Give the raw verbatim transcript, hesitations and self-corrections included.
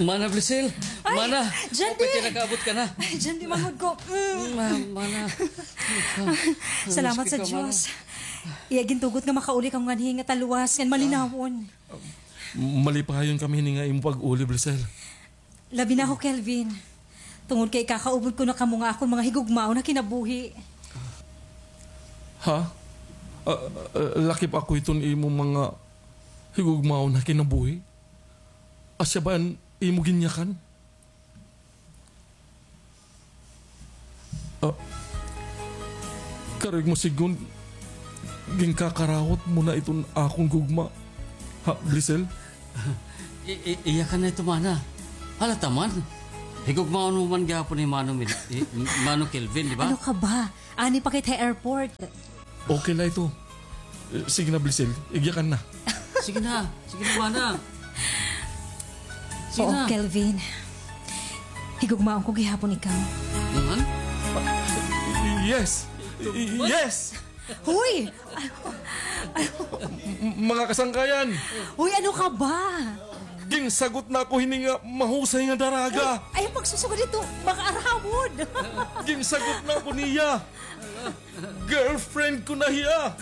Mana Blisel, ay, mana, Jandy! Pwede nakaabot ka na. Ay, Jandy, manghod ko. Mm. Ma-, mana. Salamat sa Diyos. Iya gintugot nga makauli kamo nganhi nga talwas ngan malinawon. Malipayon kami hini nga imo pag-uli, Blisel. Labi na ako, Kelvin. Tungod kay ikakaupod ko na kamo nga akon mga higugmaon ha kinabuhi. Ha? Ah, ah, lakip ako iton imo mga higugmaon ha kinabuhi? Asya ba an imo ginyakan? Ah, karuyag mo sidngon, ginkakarawat mo na iton akon gugma. Ha, Blisel? I-, i-, iya ka na ito, mana. Halata man. Higugmaon mo man gihapon ni Mano Mil-, i-, Mano Kelvin, di ba? Ano ka ba? Ani pa kita ha airport. Okay la ito. Eh, sige na, Blisel. Igyakan na. Sige na. Sige na, mana. Sige na. Oo, Kelvin. Higugmaon ko gihapon ikaw. Naman? Yes. Yes. Hoy! M-, mga kasangkayan. Hoy, ano ka ba? Ginsagot na ako hini nga mahusay nga daraga. Ay, ay, pagsusugad ito, makaaramod. Ginsagot na ako niya. Girlfriend ko na hiya.